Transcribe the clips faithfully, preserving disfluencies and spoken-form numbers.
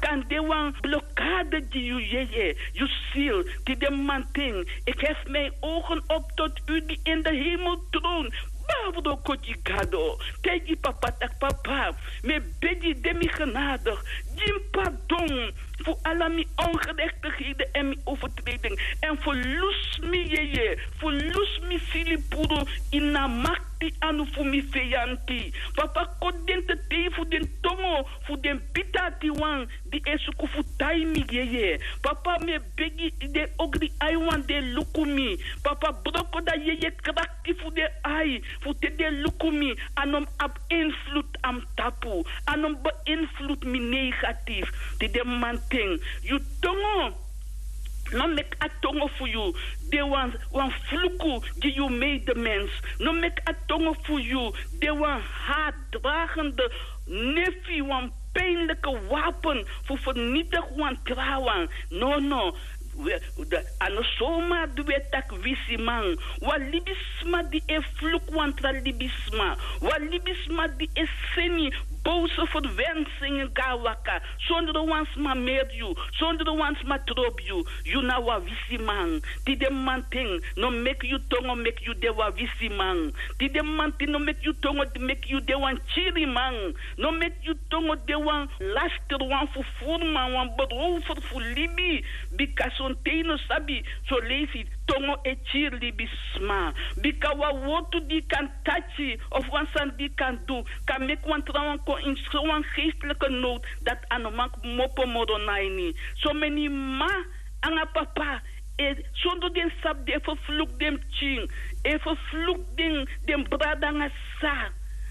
kan de wan blokade gi yu yeye, yu siri. Tide manten, ik hef mijn ogen op tot u die in de hemeltroon. Baba, broko gi Gado. Taigi papa tak' papa, mi e begi, de mi genadig, gi mi pardon fu ala mi ongerechtigheden en mi overtreding. En verloes mi yeye, verloes mi sili puru ini a makti anu fu mi feyanti. Papa, koti den tetei fu den tongo fu den bita atiwan di e suku fu tai mi yeye. Papa, mi e begi, den ogri aiwan di e luku mi. Papa, broko dan yeye krakti fu den ai, fu te den luku mi, a no mus abi invloed na mi tapu, a no mus beïnvloed mi negatief. Tide manten, yu tongo, no meki a tongo fu yu de wan, wan fluku gi yu medemens. No meki a tongo fu yu de wan haatdragende nefi, wan pijnlijke wapen fu vernietig wan trawan. No, no. We, de, a no zomaar di we taki wisiman. Wan libisma di e fluku wan tra libisma. Wan libisma di e seni boze verwensingen go na waka. Sondro wan sma meri yu, sondro wan sma trobi yu, yu na wan wisiman. Tide manten, no meki yu tongo meki yu de wan wisiman. Tide manten, no meki yu tongo meki yu de wan kiriman. No meki yu tongo de wan lasterwan fu furuman, wan berover fu libi. Bika sonten yu no sabi, son leisi tongo e kiri libisma. Bika wan wortu di yu kan taki, of wan sani di yu kan du, kan meki wan trawan kon ini sowan geestelijke nood dati a no man kmopo moro na ini. Someni mama nanga papa, e, sondro den sabi, den e vervloek den pikin, e vervloek den, den brada nanga sisa.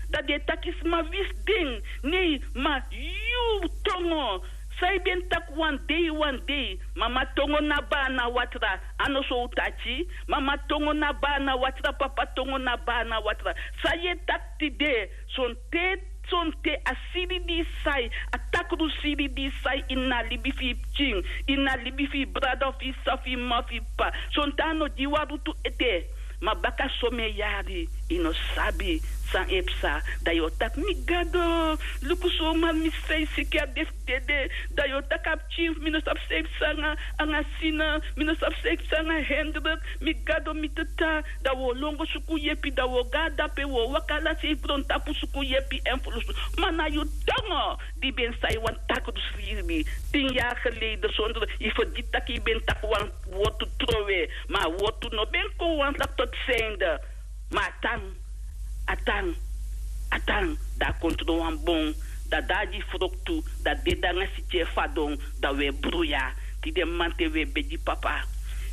Dan den e taki sma wisi den. Nee, ma yu tongo, san yu ben taki wan dei, wan dei, mama tongo na bana watra, a no so un taki? Mama tongo na bana watra, papa tongo na bana watra. San yu e taki tide, sonten, sonten a siri di yu sai, a takru siri di yu sai ini a libi fu yu pikin, ini a libi fu yu brada fu yu sisa, fu yu mama, fu yu papa. Sonten a no gi wan rutu ete. Ma baka somen yari, yu no sabi san e psa. Dan yu o taki: Mi Gado, luku so, ma mi sisa e siki, a de fu dede. Dan yu o taki a pikin fu mi no sabi san e psa nanga, nanga Sina, mi no sabi san e psa nanga Hendrik. Mi Gado, mi Tata. Dan wi o lon go suku yepi, dan wi o go na dape, wi o waka na sei grontapu suku yepi èn fulusu. Ma na yu tongo di ben sai wan takru siri tin yari geleden, sondro yu fergiti taki yu ben taki wan wortu trowe, ma a wortu no ben kon wan taki tot sende. Ma a tan, a tan, a tan, dan a kon tron wan bon, dan a de a gi froktu, dan a dede nanga siki e fadon, dan wi e bruya. Tide manten wi e begi, Papa.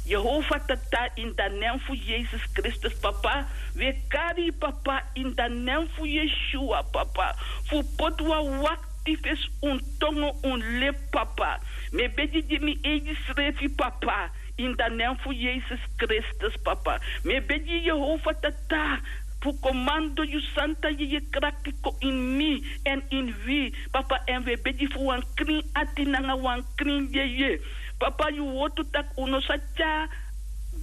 Yehova Tata, in the name fu Yesus Kristus, Papa, wi e kari yu, Papa, in the name fu Yeshua, Papa, fu poti wan wakti fesi un tongo, un lepi, Papa. Mi e begi gi mi eigi srefi, Papa, in the name fu Yesus Kristus, Papa. Mi e begi yu, Yehova Tata, fu komando yu santa yeye krakti kon ini mi èn ini wi, Papa, èn wi e begi fu wan krin ati nanga wan krin yeye. Papa, yu wortu taki un no sa tyari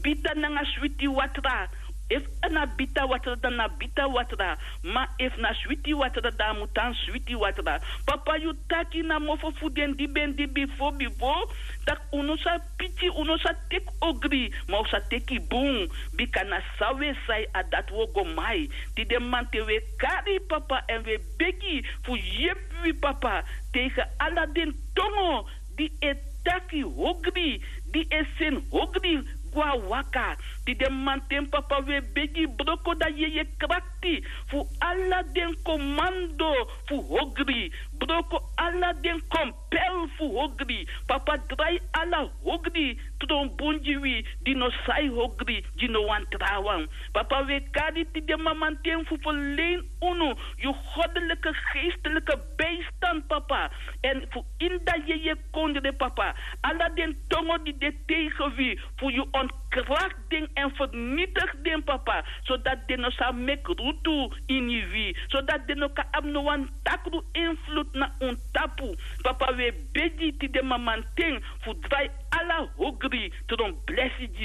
bita nanga switi watra. Efu na bita watra, dan na bita watra. Ma efu na switi watra, dan a mu tan switi watra. Papa, yu taki na mofo fu den di ben de bifo, bifo, taki un no sa piki, un no sa teki ogri, ma un sa teki bun. Bika na san wi e sai, a dati wi o go mai. Tide manten wi e kari yu, Papa, èn wi e begi fu yepi wi, Papa, tegen ala den tongo di e taki ogri, di e seni ogri go na waka. Tide manten, Papa, wi e begi, broko dan yeye krakti fu ala den komando fu ogri. Broko ala den kompel fu ogri. Papa, drai ala ogri tron bun gi wi, di no sai ogri gi no wan trawan. Papa, wi e kari tide mamanten fu ferlein unu yu goddelijke, geestelijke bijstand, Papa. Èn fu ini a yeye kondre, Papa, ala den tongo di de tegen wi, fu yu ontkrakti den èn vernietig den, Papa, sodati den no sa meki rutu ini wi, sodati den no kan abi no wan takru invloed na un tapu. Papa, wi e begi tide mamanten fu drai ala ogri tron blesi gi